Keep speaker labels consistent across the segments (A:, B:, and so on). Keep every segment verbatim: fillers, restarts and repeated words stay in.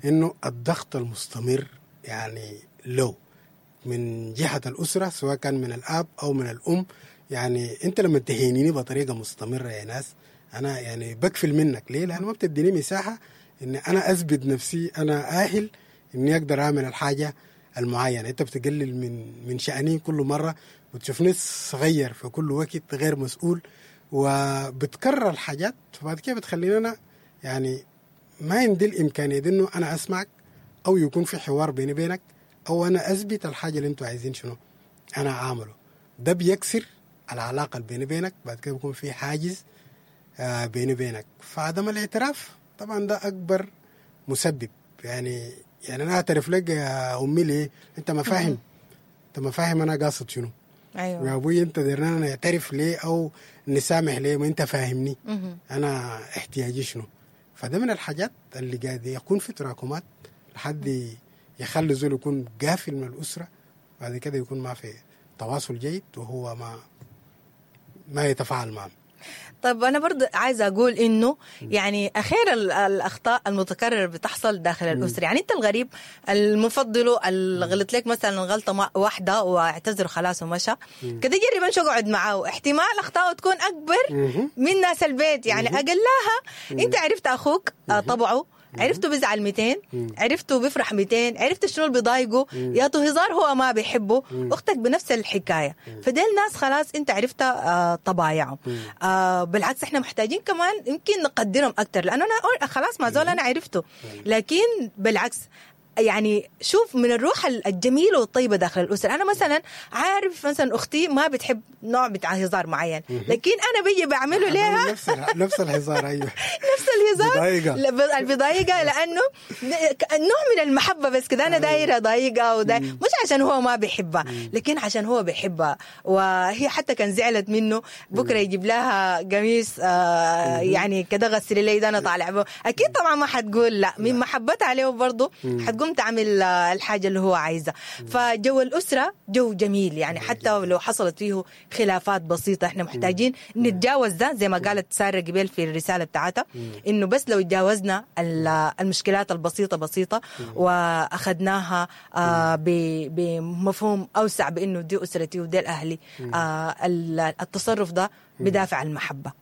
A: انه الضغط المستمر يعني لو من جهة الاسرة سواء كان من الاب او من الام، يعني انت لما تهينيني بطريقة مستمرة يا ناس انا يعني بكفل منك. ليه؟ لانه ما بتديني مساحة ان انا اثبت نفسي انا اهل اني اقدر اعمل الحاجة المعينة. انت بتقلل من من شاني كل مرة، وتشوفني صغير في كل وقت غير مسؤول، وبتكرر الحاجات. فبعد كده بتخليني انا يعني ما عندي الامكانية دي انه انا اسمعك او يكون في حوار بيني بينك او انا اثبت الحاجة اللي انتوا عايزين شنو انا اعمله. ده بيكسر العلاقة اللي بيني بينك، بعد كده بيكون في حاجز آه بيني بينك. فعدم الاعتراف طبعا ده اكبر مسبب. يعني يعني انا اعترف لك يا امي ليه؟ انت ما فاهم، انت ما فاهم انا قاصد شنو.
B: ايوه
A: يا ابوي انت دايرنا نعترف ليه او نسامح ليه؟ ما انت فاهمني انا احتياجي شنو. فده من الحاجات اللي قاعد يكون في تراكمات لحد يخلي زول يكون قافل من الاسرة، بعد كده يكون ما في تواصل جيد وهو ما ما يتفاعل معه.
B: طب أنا برضه عايزة أقول إنه يعني أخير الأخطاء المتكررة بتحصل داخل الأسرة. يعني أنت الغريب المفضلة اللي غلط لك مثلا غلطة واحدة واعتذر خلاص ومشى كده، جرب أمشي أقعد معاه، احتمال أخطاءه تكون أكبر من ناس البيت. يعني أقلها أنت عرفت أخوك طبعه، عرفته بيزعل ميتين، عرفته بيفرح ميتين، عرفت شنو اللي بيضايقه، يا تو هزار هو ما بيحبه، اختك بنفس الحكاية. فديل ناس خلاص انت عرفت آه طبايعهم. آه بالعكس احنا محتاجين كمان يمكن نقدرهم اكثر، لانه انا خلاص ما زول انا عرفته. لكن بالعكس يعني شوف من الروح الجميلة والطيبة داخل الأسرة. أنا مثلا عارف مثلا أختي ما بتحب نوع بتاع هزار معين، لكن أنا بيجي بعمله ليها
A: نفس نفس الهزار. أيوه
B: نفس الهزار البضايقة، لأنه نوع من المحبة بس كده. أنا دايرة ضايقة ودا، مش عشان هو ما بيحبها، لكن عشان هو بيحبها. وهي حتى كان زعلت منه بكرة يجيب لها قميص آه يعني كده غسلي لي ده أنا طالع به، أكيد طبعا ما حتقول لا، من محبتها عليه برضه حتقوم تعمل الحاجة اللي هو عايزها. فجو الأسرة جو جميل، يعني حتى لو حصلت فيه خلافات بسيطة احنا محتاجين نتجاوز ده، زي ما قالت سارة قبل في الرسالة بتاعتها، انه بس لو تجاوزنا المشكلات البسيطة بسيطة واخذناها بمفهوم أوسع بانه دي أسرتي ودي أهلي، التصرف ده بدافع المحبة.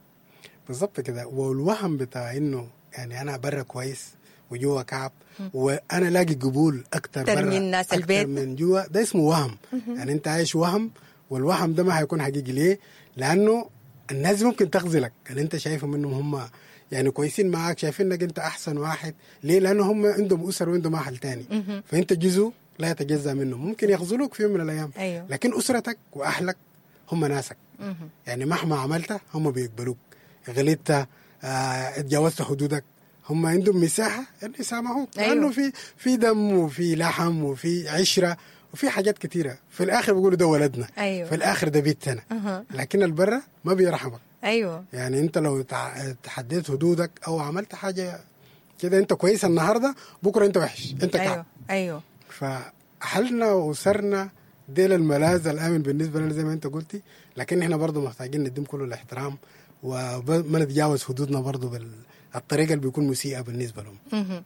A: بالضبط كده. والوهم بتاع انه يعني انا برا كويس وجوا كعب وانا لاقي قبول اكتر برا
B: من الناس البيت
A: من جوا، ده اسمه وهم. يعني انت عايش وهم، والوهم ده ما هيكون حقيقي. ليه؟ لانه الناس ممكن تخذلك، اللي انت شايفهم انهم هم يعني كويسين معاك، شايفين انك انت احسن واحد. ليه؟ لانه هم عندهم اسر وعندهم اهل تاني، فانت جزء لا يتجزأ منه، ممكن يخذلوك في يوم من الايام.
B: أيوه.
A: لكن اسرتك واهلك هم ناسك. يعني مهما عملت هم بيقبلوك، غلطت اه اتجاوزت حدودك، هم عندهم مساحة ان يسامحوك. أيوه. لانه في في دم وفي لحم وفي عشرة وفي حاجات كثيرة. في الاخر بيقولوا ده ولدنا.
B: أيوه.
A: في الاخر ده بيتنا.
B: أه.
A: لكن البرة ما بيرحمك.
B: ايوه.
A: يعني انت لو تحديت حدودك او عملت حاجة كده، انت كويس النهارده، بكره انت وحش، انت كعب.
B: ايوه. ايوه.
A: فاهلنا واسرنا ديل الملاذ الامن بالنسبة لنا زي ما انت قلتي، لكن احنا برضو محتاجين نديم كل الاحترام وما نتجاوز حدودنا برضو بال الطريقة اللي بيكون مسيئة بالنسبة لهم.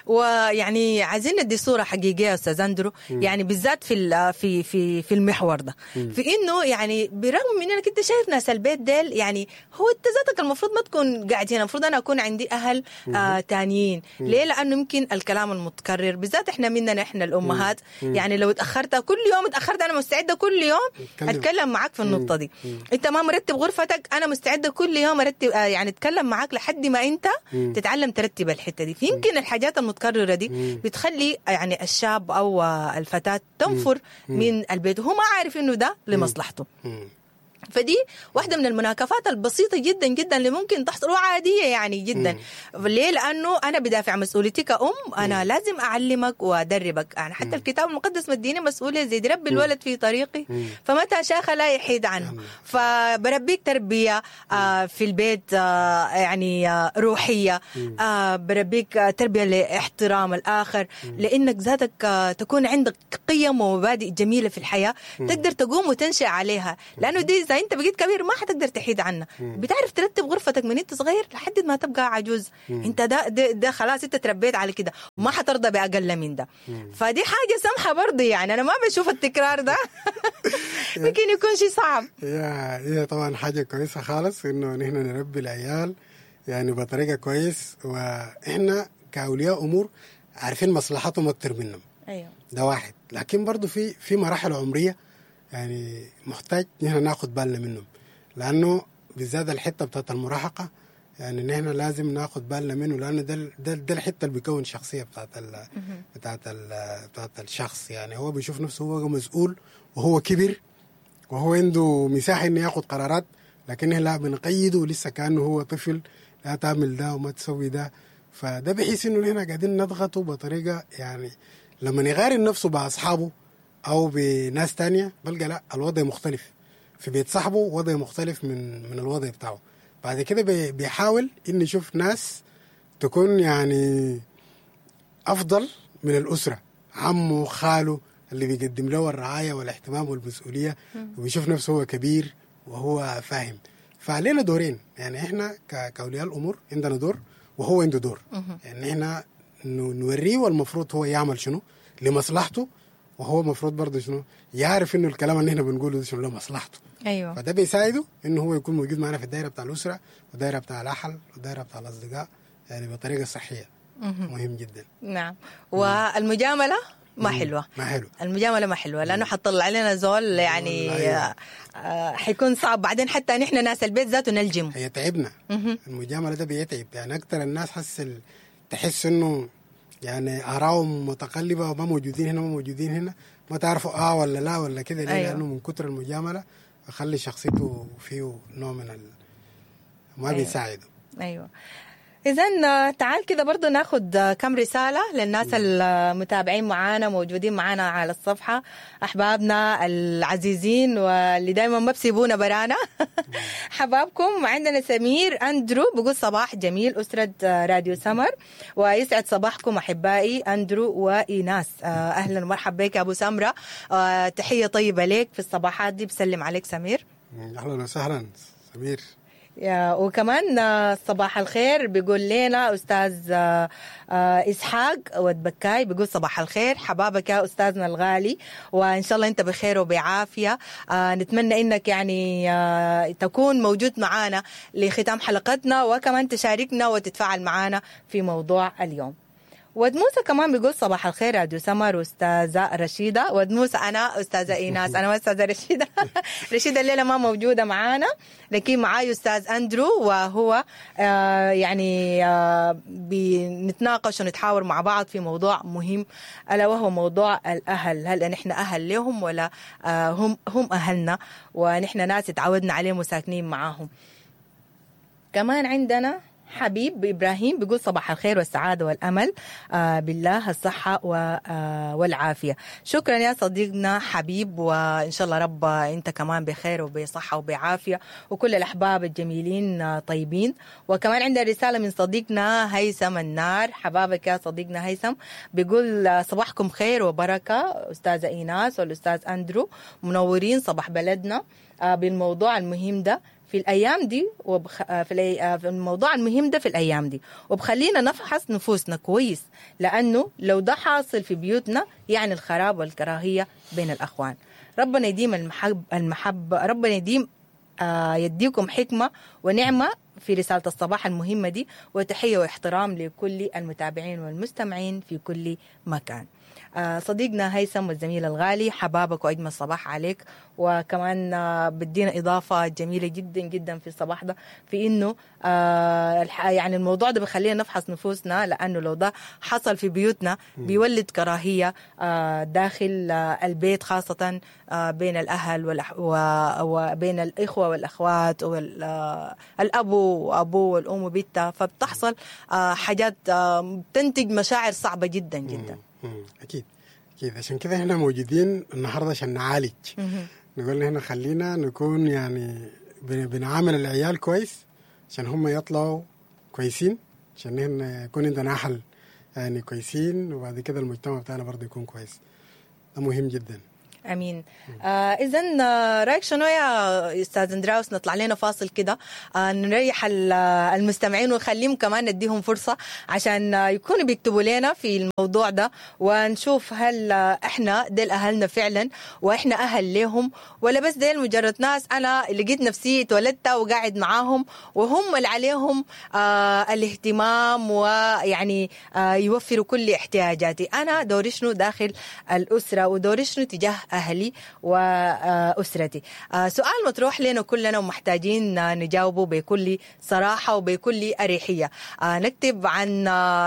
B: ويعني عايزين ندي صورة حقيقية يا أستاذ أندرو، يعني بالذات في في في في المحور ده، في إنه يعني برغم من إنك أنت شايف ناس البيت ديل، يعني هو أنت ذاتك المفروض ما تكون قاعد هنا، المفروض أنا أكون عندي أهل آه تانيين. ليه؟ لأنه يمكن الكلام المتكرر بالذات إحنا مننا إحنا الأمهات، مم. يعني لو تأخرت كل يوم تأخرت، أنا مستعدة كل يوم أتكلم معاك في النقطة دي. مم. أنت ما مرتب غرفتك، أنا مستعدة كل يوم أرتب، آه يعني أتكلم معاك لحد ما أنت مم. تتعلم ترتب الحتة دي. فيمكن الحاجات المتكررة دي بتخلي يعني الشاب أو الفتاة تنفر من البيت وهو ما عارف إنه ده لمصلحته. فدي واحدة من المناكفات البسيطة جدا جدا اللي ممكن تحصل وعادية يعني جدا. مم. ليه؟ لأنه أنا بدافع مسؤوليتي كأم، أنا مم. لازم أعلمك وأدربك. يعني حتى مم. الكتاب المقدس مديني مسؤولية زي دي، ربي الولد في طريقي فمتى شاخ لا يحيد عنه. مم. فبربيك تربية آه في البيت آه يعني آه روحية، آه بربيك تربية لاحترام الآخر، مم. لأنك ذاتك آه تكون عندك قيم ومبادئ جميلة في الحياة. مم. تقدر تقوم وتنشأ عليها، لأنه دي اذا انت بقيت كبير ما حتقدر تحيد عنها. بتعرف ترتب غرفتك من انت صغير لحد ما تبقى عجوز. مم. انت ده, ده ده خلاص انت تربيت على كده وما حترضى باقل من ده. مم. فدي حاجة سمحه برضه، يعني انا ما بشوف التكرار ده ممكن يكون شيء صعب.
A: يا هي طبعا حاجة كويسة خالص انه نحن نربي العيال يعني بطريقة كويس، واحنا كاولياء امور عارفين مصلحتهم اكتر منهم.
B: ايوه
A: ده واحد. لكن برضه في في مراحل عمرية يعني محتاج نحن ناخد بالنا منهم، لانه بالذات الحتة بتاعت المراهقة يعني نحن لازم ناخد بالنا منه، لانه ده ده, ده الحتة اللي بيكون شخصية بتاعت ال بتاعت ال بتاعت الشخص. يعني هو بيشوف نفسه هو مسؤول وهو كبر وهو عنده مساحة انه ياخد قرارات، لكن لا بنقيده لسه كانه هو طفل، لا تعمل ده وما تسوي ده. فده بحيث انه نحن قاعدين نضغطه بطريقة يعني لما يقارن نفسه باصحابه او بناس تانية بلقى لا الوضع مختلف في بيت صاحبه، وضع مختلف من من الوضع بتاعه. بعد كده بيحاول انه يشوف ناس تكون يعني افضل من الاسرة، عمه خاله اللي بيقدم له الرعاية والاهتمام والمسؤولية، وبيشوف نفسه هو كبير وهو فاهم. فعلينا دورين، يعني احنا كاولياء الامور عندنا دور وهو عنده دور. يعني احنا نوريه والمفروض هو يعمل شنو لمصلحته، وهو المفروض برضه شنو يعرف انه الكلام اللي احنا بنقوله ده شنو لمصلحته.
B: ايوه.
A: فده بيساعده انه هو يكون موجود معنا في الدائرة بتاع الاسرة والدائره بتاع الاهل والدائره بتاع الاصدقاء، يعني بطريقة صحية. مهم جدا.
B: نعم. والمجامله ما حلوة.
A: ما حلو.
B: المجاملة ما حلوة لانه حتطلع لنا زول يعني آه حيكون صعب بعدين، حتى نحن ناس البيت ذاته نلجم.
A: هي تعبنا. المجاملة ده بيتعب، يعني اكثر الناس حس ال... تحس انه يعني آراهم متقلبة وما موجودين هنا ما موجودين هنا، ما تعرفوا اه ولا لا ولا كده ليه؟ أيوة. لانه من كتر المجاملة اخلي شخصيته فيه نوع من ال... ما أيوة. بيساعده.
B: ايوه. إذن تعال كده برضو ناخد كم رسالة للناس المتابعين معانا موجودين معانا على الصفحة، أحبابنا العزيزين واللي دايما ما بسيبونا برانا. حبابكم. عندنا سمير أندرو بيقول صباح جميل أسرة راديو سمر، ويسعد صباحكم أحبائي أندرو وإيناس. أهلا ومرحبا بك أبو سمرة، تحية طيبة لك في الصباحات دي، بسلم عليك سمير.
A: أهلا وسهلا سمير.
B: وكمان صباح الخير بيقول لنا أستاذ إسحاق ودبكاي، بيقول صباح الخير حبابك يا أستاذنا الغالي، وإن شاء الله أنت بخير وبعافية. نتمنى إنك يعني تكون موجود معنا لختام حلقتنا، وكمان تشاركنا وتتفاعل معنا في موضوع اليوم. ود موسى كمان بيقول صباح الخير راديو سمر واستاذة رشيدة. ود موسى أنا أستاذة إيناس، أنا أستاذة رشيدة. رشيدة الليلة ما موجودة معانا، لكن معاي أستاذ أندرو، وهو آه يعني آه بنتناقش ونتحاور مع بعض في موضوع مهم، ألا وهو موضوع الأهل. هل نحن أهل لهم ولا آه هم هم أهلنا، ونحن ناس تعودنا عليهم وساكنين معاهم. كمان عندنا حبيب إبراهيم بيقول صباح الخير والسعادة والأمل آه بالله الصحة والعافية. شكرا يا صديقنا حبيب، وإن شاء الله رب أنت كمان بخير وبصحة وبعافية، وكل الأحباب الجميلين طيبين. وكمان عندنا رسالة من صديقنا هيثم النار. حبابك يا صديقنا هيثم، بيقول صباحكم خير وبركة أستاذة إيناس والأستاذ أندرو، منورين صباح بلدنا آه بالموضوع المهم ده في الأيام دي، وبخ... في, الأي... في الموضوع المهم ده في الأيام دي، وبخلينا نفحص نفوسنا كويس، لأنه لو ده حاصل في بيوتنا يعني الخراب والكراهية بين الأخوان. ربنا يديم المحب... المحبة، ربنا يديم آه يديكم حكمة ونعمة في رسالة الصباح المهمة دي، وتحية واحترام لكل المتابعين والمستمعين في كل مكان. صديقنا هيثم والزميل الغالي، حبابك وأجمل صباح عليك. وكمان بدينا إضافة جميلة جدا جدا في الصباح ده، في إنه يعني الموضوع ده بخلينا نفحص نفوسنا، لأنه لو ده حصل في بيوتنا بيولد كراهية داخل البيت، خاصة بين الأهل وبين الإخوة والأخوات والأب وأبوه والأم وبيتها، فبتحصل حاجات تنتج مشاعر صعبة جدا جدا.
A: أكيد أكيد، عشان كده إحنا موجودين النهاردة عشان نعالج. نقول إحنا خلينا نكون يعني بنعامل العيال كويس عشان هم يطلعوا كويسين، عشان إحنا يكون عندنا أهل يعني كويسين، وبعد كده المجتمع بتاعنا برضه يكون كويس. ده مهم جدا.
B: امين. آه اذا رايك شنو يا استاذ اندراوس نطلع لنا فاصل كده، آه نريح المستمعين ونخليهم كمان نديهم فرصة عشان يكونوا بيكتبوا لنا في الموضوع ده، ونشوف هل احنا ديل اهلنا فعلا واحنا اهل لهم، ولا بس ديل مجرد ناس انا لقيت نفسي اتولدت وقاعد معاهم وهم اللي عليهم آه الاهتمام ويعني آه يوفروا كل احتياجاتي. انا دوري شنو داخل الاسرة ودوري شنو تجاه أهلي وأسرتي؟ سؤال مطروح لنا كلنا ومحتاجين نجاوبه بكل صراحة وبكل أريحية. نكتب عن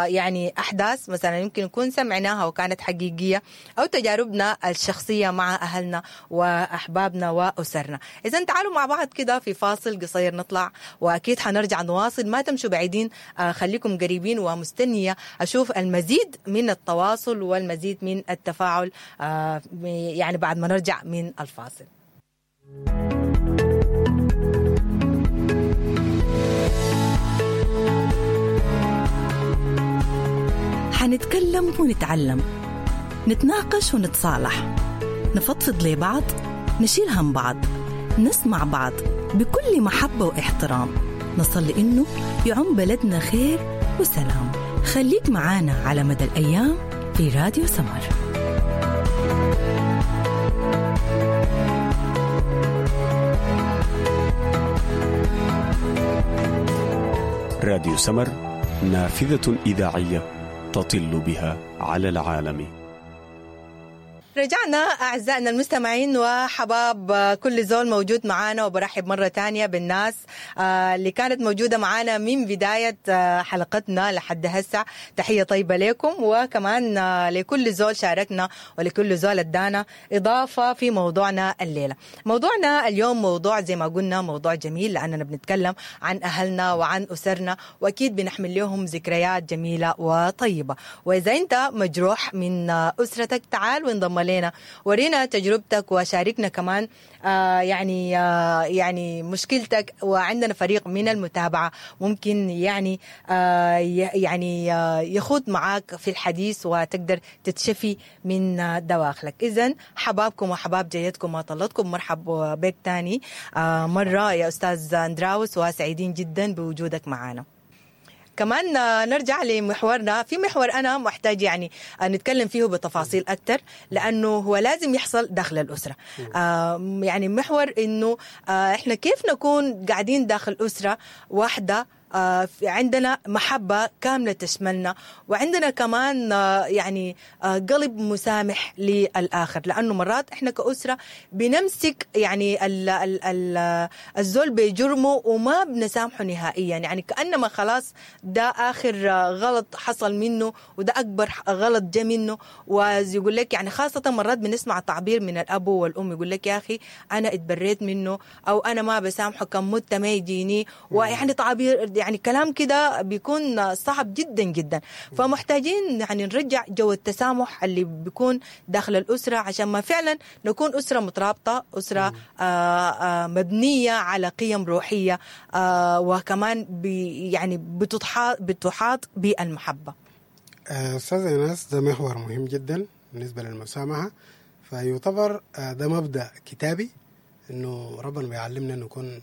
B: يعني أحداث مثلا يمكن نكون سمعناها وكانت حقيقية، أو تجاربنا الشخصية مع أهلنا وأحبابنا وأسرنا. إذن تعالوا مع بعض كده في فاصل قصير نطلع، وأكيد حنرجع نواصل، ما تمشوا بعيدين، خليكم قريبين ومستنية أشوف المزيد من التواصل والمزيد من التفاعل يعني بعد ما نرجع من الفاصل.
C: حنتكلم ونتعلم، نتناقش ونتصالح، نفضفض لبعض، نشيل هم بعض، نسمع بعض بكل محبة واحترام، نصلي إنه يعم بلدنا خير وسلام. خليك معانا على مدى الأيام في راديو سمر.
D: راديو سمر، نافذة إذاعية تطل بها على العالم.
B: رجعنا أعزائنا المستمعين وحباب كل زول موجود معانا، وبرحب مرة تانية بالناس اللي كانت موجودة معانا من بداية حلقتنا لحد هسه. تحية طيبة لكم، وكمان لكل زول شاركنا ولكل زول ادانا إضافة في موضوعنا الليلة. موضوعنا اليوم موضوع زي ما قلنا موضوع جميل، لأننا بنتكلم عن أهلنا وعن أسرنا، وأكيد بنحمل لهم ذكريات جميلة وطيبة. وإذا أنت مجروح من أسرتك تعال وانضم لنا، ورينا تجربتك وشاركنا كمان آه يعني آه يعني مشكلتك، وعندنا فريق من المتابعة ممكن يعني آه يعني آه يخوض معاك في الحديث وتقدر تتشفي من دواخلك. إذن حبابكم وحباب جيتكم وطلتكم، مرحب بك تاني آه مرة يا أستاذ أندراوس، وسعيدين جدا بوجودك معنا. كمان نرجع لمحورنا، في محور أنا محتاج يعني نتكلم فيه بتفاصيل أكثر، لأنه هو لازم يحصل داخل الأسرة. آه يعني محور إنه آه إحنا كيف نكون قاعدين داخل أسرة واحدة، آه عندنا محبة كاملة تشملنا، وعندنا كمان آه يعني آه قلب مسامح للآخر، لأنه مرات إحنا كأسرة بنمسك يعني ال ال ال الزول بجرمه وما بنسامحه نهائيا، يعني كأنما خلاص ده آخر غلط حصل منه وده أكبر غلط جا منه. ويقول لك يعني خاصة مرات بنسمع تعبير من الأب والأم يقول لك يا أخي أنا اتبريت منه، أو أنا ما بسامحه كم مدة ما يجيني، ويعني تعبير يعني كلام كده بيكون صعب جدا جدا. فمحتاجين يعني نرجع جو التسامح اللي بيكون داخل الأسرة، عشان ما فعلا نكون أسرة مترابطة، أسرة آآ آآ مبنية على قيم روحية، وكمان بي يعني بتحاط بالمحبة.
A: أستاذ إيناس، ده محور مهم جدا بالنسبة للمسامحة، فيعتبر ده مبدأ كتابي إنه ربنا بيعلمنا نكون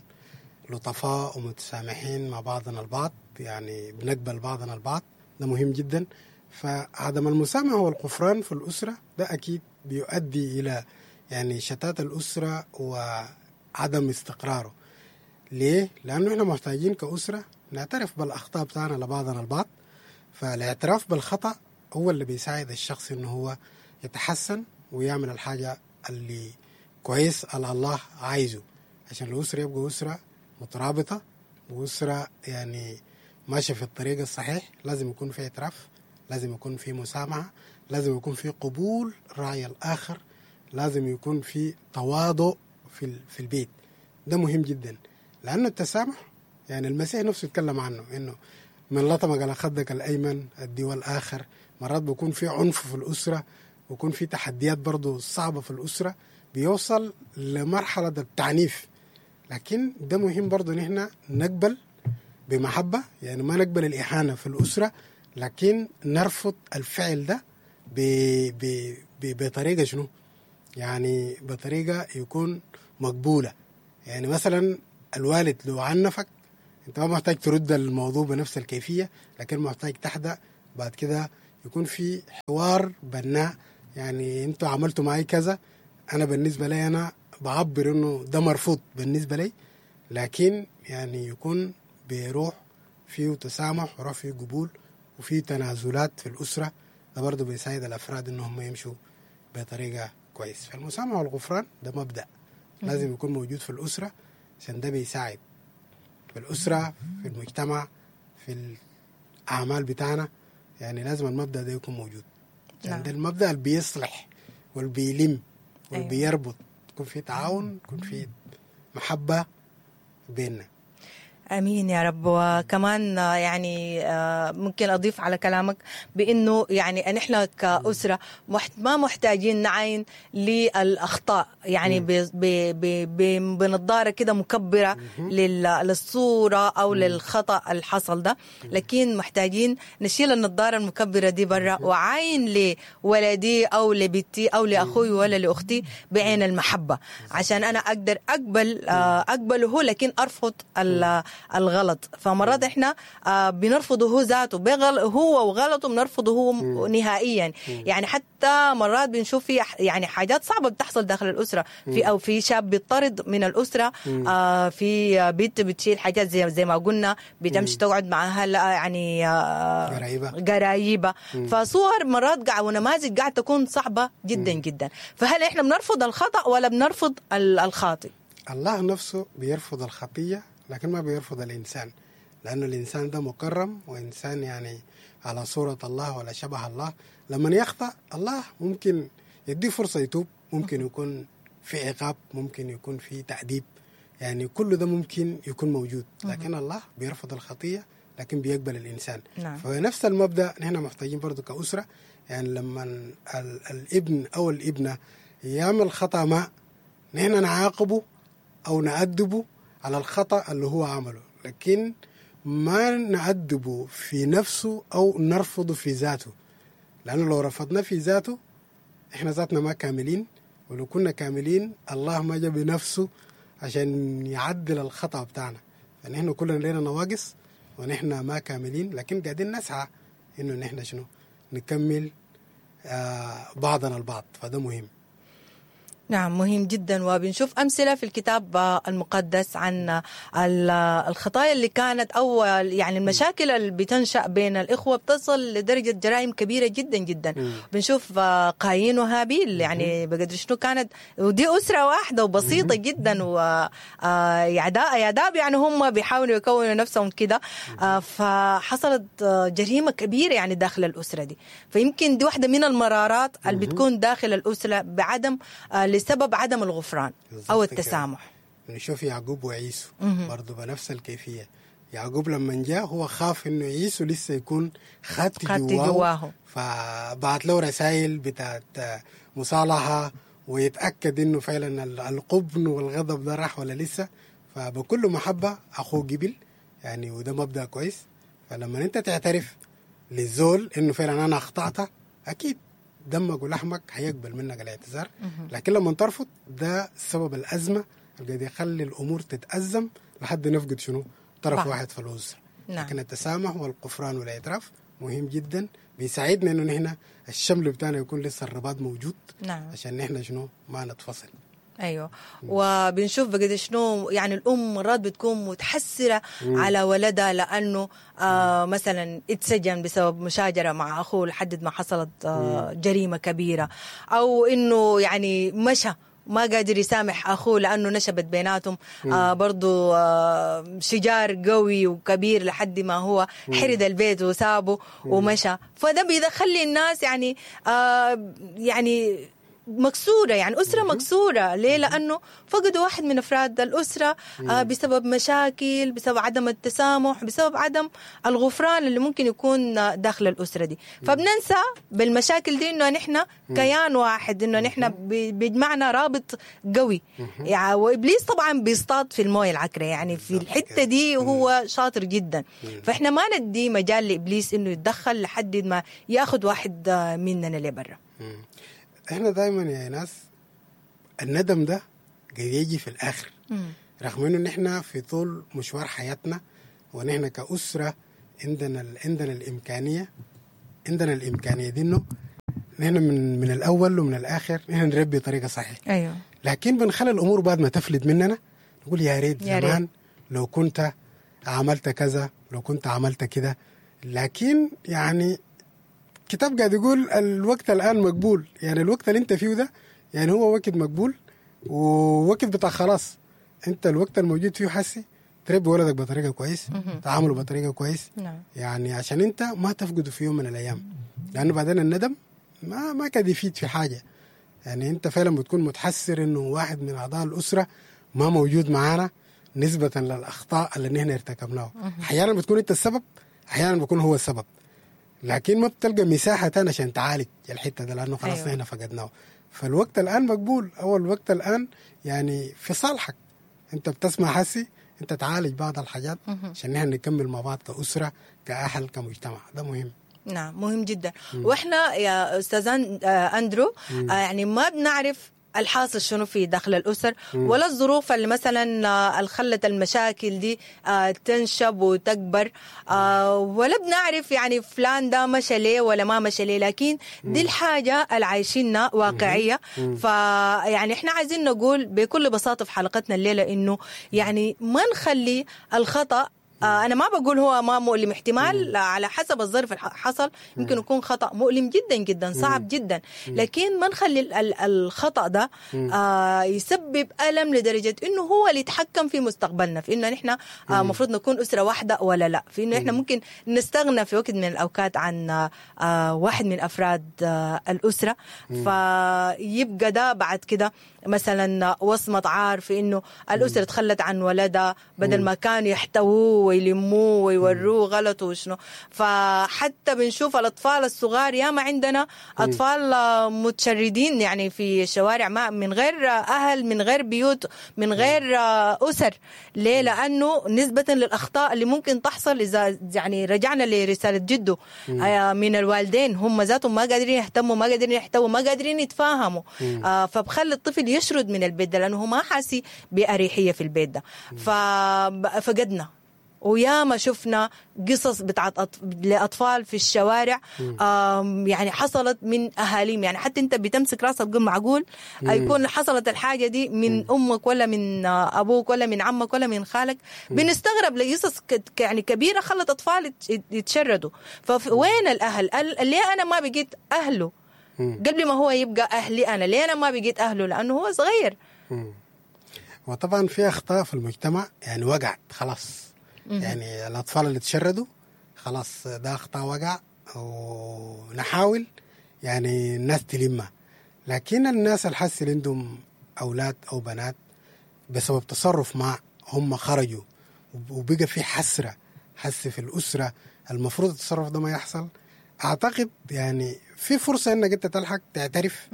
A: لطفاء ومتسامحين مع بعضنا البعض، يعني بنقبل بعضنا البعض، ده مهم جدا. فعدم المسامحة والغفران في الأسرة ده أكيد بيؤدي إلى يعني شتات الأسرة وعدم استقراره. ليه؟ لأنه إحنا محتاجين كأسرة نعترف بالأخطاء بتاعنا لبعضنا البعض، فالاعتراف بالخطأ هو اللي بيساعد الشخص إنه هو يتحسن ويعمل الحاجة اللي كويس على الله عايزه، عشان الأسرة يبقى أسرة مترابطة وأسرة يعني ماشية في الطريق الصحيح. لازم يكون في اعتراف، لازم يكون في مسامحة، لازم يكون في قبول رأي الآخر، لازم يكون في تواضع في في البيت. ده مهم جدا، لأن التسامح يعني المسيح نفسه يتكلم عنه إنه من لطمك على خدك الأيمن أدي والآخر. مرات بيكون في عنف في الأسرة، ويكون في تحديات برضو صعبة في الأسرة، بيوصل لمرحلة التعنيف. لكن ده مهم برضو نحن نقبل بمحبة، يعني ما نقبل الإهانة في الأسرة، لكن نرفض الفعل ده ب ب ب بطريقة شنو؟ يعني بطريقة يكون مقبولة. يعني مثلا الوالد لو عنفك انت ما محتاج ترد الموضوع بنفس الكيفية، لكن محتاج تحدأ بعد كده يكون في حوار بناء. يعني انتوا عملتوا معي كذا، انا بالنسبة لي انا بعبر انه ده مرفوض بالنسبة لي، لكن يعني يكون بروح فيه تسامح وروح فيه قبول وفيه تنازلات في الأسرة. ده برضه بيساعد الأفراد انهم يمشوا بطريقة كويس. فالمسامحة والغفران ده مبدأ لازم يكون موجود في الأسرة، عشان ده بيساعد في الأسرة، في المجتمع، في الأعمال بتاعنا. يعني لازم المبدأ ده يكون موجود. يعني ده المبدأ اللي بيصلح واللي بيلم واللي بيربط، يكون في تعاون، يكون في محبة بيننا.
B: امين يا رب. وكمان يعني ممكن اضيف على كلامك بانه يعني نحن كاسره ما محتاجين نعين للاخطاء، يعني بنظاره كده مكبره للصورة او للخطا اللي حصل ده، لكن محتاجين نشيل النظارة المكبره دي برا وعاين لولدي او لبنتي او لاخوي ولا لاختي بعين المحبة، عشان انا اقدر اقبل اقبله هو لكن ارفض الغلط. فمرات احنا بنرفضه هو ذاته، بغل هو وغلطه بنرفضه هو نهائيا. يعني حتى مرات بنشوف في يعني حاجات صعبة بتحصل داخل الاسرة، في او في شاب بيطرد من الاسرة، آه في بنت بتشيل حاجات زي زي ما قلنا، بتمشي تقعد مع اهلها يعني
A: قرايبه
B: قرايبه. فصور مرات قاع ونماذج قاعد تكون صعبة جدا جدا. فهل احنا بنرفض الخطا ولا بنرفض الخاطئ؟
A: الله نفسه بيرفض الخطية لكن ما بيرفض الإنسان، لأنه الإنسان ده مكرم وإنسان يعني على صورة الله ولا شبه الله. لما يخطأ الله ممكن يديه فرصة يتوب، ممكن يكون في عقاب، ممكن يكون في تأديب، يعني كل ده ممكن يكون موجود. لكن الله بيرفض الخطية لكن بيقبل الإنسان. نعم. فنفس المبدأ نحن محتاجين برضو كأسرة، يعني لما ال الابن أو الابنة يعمل خطأ ما نحن نعاقبه أو نأدبه على الخطأ اللي هو عمله، لكن ما نعذبه في نفسه أو نرفضه في ذاته، لأنه لو رفضنا في ذاته إحنا ذاتنا ما كاملين، ولو كنا كاملين الله ما جاب بنفسه عشان يعدل الخطأ بتاعنا. فنحن كلنا لنا نواقص ونحن ما كاملين، لكن قاعدين نسعى إنه نحن شنو نكمل آه بعضنا البعض، فده مهم.
B: نعم مهم جدا. وبنشوف أمثلة في الكتاب المقدس عن الخطايا اللي كانت أو يعني المشاكل اللي بتنشأ بين الإخوة بتصل لدرجة جرائم كبيرة جدا جدا. بنشوف قايين وهابيل، يعني بقدر شنو كانت، ودي أسرة واحدة وبسيطة جدا، ويعداء يعداء يعني هم بيحاولوا يكونوا نفسهم كده، فحصلت جريمة كبيرة يعني داخل الأسرة دي. فيمكن دي واحدة من المرارات اللي بتكون داخل الأسرة بعدم لسبب عدم الغفران أو التسامح.
A: نشوف يعقوب وعيسو برضو بنفس الكيفية. يعقوب لما جاء هو خاف إنه عيسو لسه يكون خدت جواه, جواه. فبعت له رسائل بتاعت مصالحة ويتأكد إنه فعلا القبن والغضب ده راح ولا لسه. فبكل محبة أخوه قبل يعني، وده مبدأ كويس. فلما أنت تعترف للزول إنه فعلا أنا أخطأته، أكيد دمك ولحمك هيقبل منك الاعتذار. لكن لما ترفض ده سبب الأزمة اللي يخلي الأمور تتأزم لحد نفقد شنو طرف بح. واحد في الأسرة. نعم. لكن التسامح والغفران والاعتراف مهم جدا، بيساعدنا إنه نحن الشمل بتاعنا يكون لسه الرباط موجود. نعم. عشان نحن شنو ما نتفصل.
B: ايوه. وبنشوف بقد شنو يعني الام مرات بتكون متحسره مم. على ولدها لانه آه مثلا اتسجن بسبب مشاجره مع اخوه لحد ما حصلت آه جريمة كبيرة، او انه يعني مشى ما قادر يسامح اخوه لانه نشبت بيناتهم آه برضو آه شجار قوي وكبير لحد ما هو حرد البيت وسابه ومشى. فده بيدخل الناس يعني آه يعني مكسورة، يعني أسرة مكسورة. ليه؟ لأنه فقدوا واحد من أفراد الأسرة آه بسبب مشاكل، بسبب عدم التسامح، بسبب عدم الغفران اللي ممكن يكون داخل الأسرة دي. فبننسى بالمشاكل دي إنه نحن كيان واحد، إنه نحن بيجمعنا رابط قوي يعني. وإبليس طبعا بيصطاد في الموية العكرة يعني في الحتة دي وهو شاطر جدا. فإحنا ما ندي مجال لإبليس إنه يتدخل لحد ما ياخد واحد مننا لبرا.
A: احنا دايما يا ناس الندم ده قد يجي في الاخر. مم. رغم انه نحن في طول مشوار حياتنا ونحن كاسره عندنا عندنا الامكانية عندنا الامكانية دي انه نحن من من الاول ومن الاخر نحن نربي بطريقة صحيحه.
B: ايوه.
A: لكن بنخلي الامور بعد ما تفلت مننا نقول يا ريت زمان لو كنت عملت كذا، لو كنت عملت كده. لكن يعني كتاب قاعد يقول الوقت الان مقبول، يعني الوقت اللي انت فيه ده يعني هو وقت مقبول ووقت بتاع خلاص. انت الوقت الموجود فيه حسي تربي ولدك بطريقة كويس، تعامله بطريقة كويس.
B: نعم.
A: يعني عشان انت ما تفقده في يوم من الايام، لانه بعدين الندم ما ما كاد يفيد في حاجة. يعني انت فعلا بتكون متحسر انه واحد من اعضاء الاسرة ما موجود معانا نسبه للاخطاء اللي نحن ارتكبناها. احيانا بتكون انت السبب، احيانا بيكون هو السبب، لكن ما بتلقى مساحة تانية عشان تعالج الحتة ده، لانه خلاص. أيوة. نحن فقدناه. فالوقت الان مقبول، او الوقت الان يعني في صالحك. انت بتسمع حسي انت تعالج بعض الحاجات عشان نحن نكمل مع بعض كأسرة، كأهل، كمجتمع. ده مهم.
B: نعم مهم جدا. مم. واحنا يا استاذ اندرو مم. يعني ما بنعرف الحاصل شنو في داخل الأسر، مم. ولا الظروف اللي مثلا اللي خلت المشاكل دي تنشب وتكبر، ولا بنعرف يعني فلان ده مشى ليه ولا ما مشى ليه، لكن دي الحاجة اللي عايشينها واقعية. فيعني احنا عايزين نقول بكل بساطة في حلقتنا الليلة إنه يعني ما نخلي الخطأ، أنا ما بقول هو ما مؤلم، احتمال على حسب الظرف اللي حصل يمكن يكون خطأ مؤلم جدا جدا صعب جدا، لكن ما نخلي الخطأ ده يسبب ألم لدرجة إنه هو اللي يتحكم في مستقبلنا، في إنه نحن المفروض نكون أسرة واحدة ولا لا، في إنه إحنا ممكن نستغنى في وقت من الأوقات عن واحد من أفراد الأسرة، فيبقى ده بعد كده مثلا وصمة عار في إنه الأسرة تخلت عن ولدها بدل ما كانوا يحتووه ويلموه ويوروه غلطه وشنو. فحتى بنشوف الأطفال الصغار، ياما عندنا أطفال متشردين يعني في الشوارع، ما من غير أهل، من غير بيوت، من غير أسر. ليه؟ لأنه نسبة للأخطاء اللي ممكن تحصل إذا يعني رجعنا لرسالة جده من الوالدين، هم ذاتهم ما قادرين يهتموا، ما قادرين يحتووا، ما قادرين يتفاهموا، فبخلي الطفل يشرد من البيت ده لأنه هو ما حاسي بأريحية في البيت ده. ففقدنا، وياما شفنا قصص بتاعت أطف... لأطفال في الشوارع، يعني حصلت من أهاليهم، يعني حتى أنت بتمسك راسك تقول معقول يكون حصلت الحاجة دي من أمك ولا من أبوك ولا من عمك ولا من خالك. بنستغرب لقصص ك... يعني كبيرة خلت أطفال يتشردوا. فوين الأهل؟ ليه أنا ما بقيت أهله قبل ما هو يبقى أهلي أنا؟ ليه أنا ما بقيت أهله؟ لأنه هو صغير.
A: وطبعا في أخطاء في المجتمع يعني وقعت خلاص، يعني الأطفال اللي تشردوا خلاص ده أخطاء وقع، ونحاول يعني الناس تلمها. لكن الناس الحس اللي عندهم أولاد أو بنات بسبب تصرف ما هم خرجوا وبقى في حسرة، حس في الأسرة، المفروض التصرف ده ما يحصل. أعتقد يعني في فرصة إنك أنت تلحق تعترف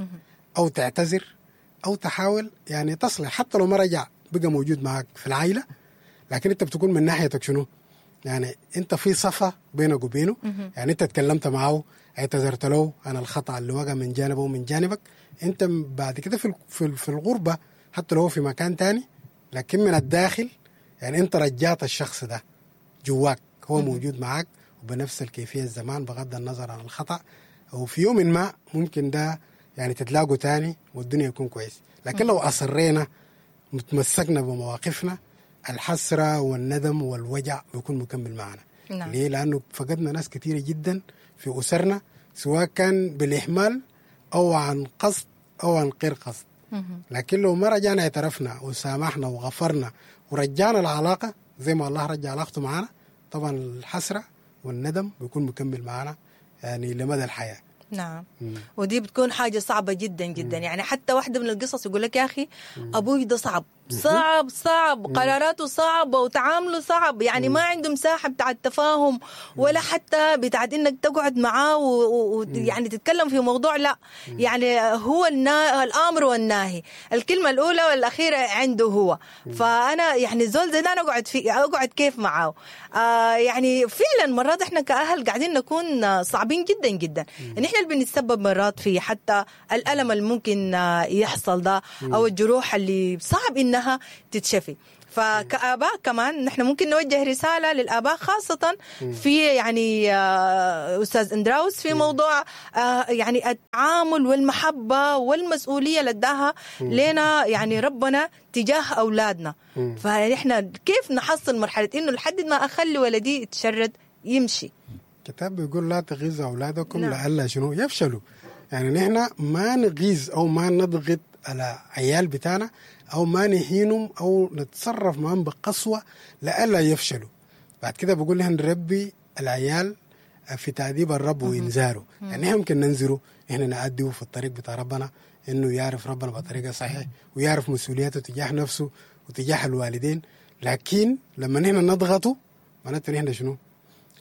A: أو تعتذر أو تحاول يعني تصلح، حتى لو ما رجع بقى موجود معك في العائلة، لكن انت بتكون من ناحيتك شنو؟ يعني انت في صفة بينك وبينه، يعني انت تكلمت معه، اعتذرت له عن الخطأ اللي وقع من جانبه ومن جانبك. انت بعد كده في في الغربة حتى لو هو في مكان تاني، لكن من الداخل يعني انت رجعت الشخص ده جواك، هو موجود معك وبنفس الكيفية الزمان بغض النظر عن الخطأ، وفي يوم ما ممكن ده يعني تتلاقوا تاني والدنيا يكون كويس. لكن لو أصرينا متمسكنا بمواقفنا، الحسرة والندم والوجع بيكون مكمل معنا.
B: نعم.
A: ليه؟ لأنه فقدنا ناس كثيرة جدا في أسرنا، سواء كان بالإهمال أو عن قصد أو عن غير قصد. لكن لو ما رجعنا اعترفنا وسامحنا وغفرنا ورجعنا العلاقة زي ما الله رجع علاقته معنا، طبعا الحسرة والندم بيكون مكمل معنا يعني لمدى الحياة.
B: نعم. مم. ودي بتكون حاجة صعبة جدا جدا. مم. يعني حتى واحدة من القصص يقول لك يا أخي أبوي ده صعب، صعب صعب، قراراته صعبة وتعامله صعب، يعني ما عنده مساحة بتاع التفاهم ولا حتى بتاعت انك تقعد معاه ويعني تتكلم في موضوع، لا يعني هو النا... الامر والناهي، الكلمة الاولى والاخيرة عنده هو. فانا يعني زول زي ده انا اقعد في اقعد كيف معاه؟ آه يعني فعلا مرات احنا كاهل قاعدين نكون صعبين جدا جدا، نحن اللي بنتسبب مرات في حتى الالم اللي ممكن يحصل ده او الجروح اللي صعب انها تتشفي. فكآباء كمان نحن ممكن نوجه رسالة للآباء، خاصة في يعني أستاذ اندراوس في موضوع يعني التعامل والمحبة والمسؤولية اللي اداها لنا يعني ربنا تجاه أولادنا. فنحن كيف نحصل مرحلة إنه لحد ما أخلي ولدي يتشرد يمشي؟
A: الكتاب بيقول لا تغيظوا أولادكم لئلا شنو يفشلوا. يعني نحن ما نغيظ أو ما نضغط على عيال بتاعنا أو ما نهينهم أو نتصرف معهم بقسوة لئلا يفشلوا. بعد كده بقول لهم نربي العيال في تأديب الرب وإنذاره. يعني إحنا ممكن ننذره، إحنا نأديه في الطريق بتاع ربنا، إنه يعرف ربنا بطريقة صحيحة ويعرف مسؤولياته تجاه نفسه وتجاه الوالدين. لكن لما نحن نضغطه معناته نحن شنو؟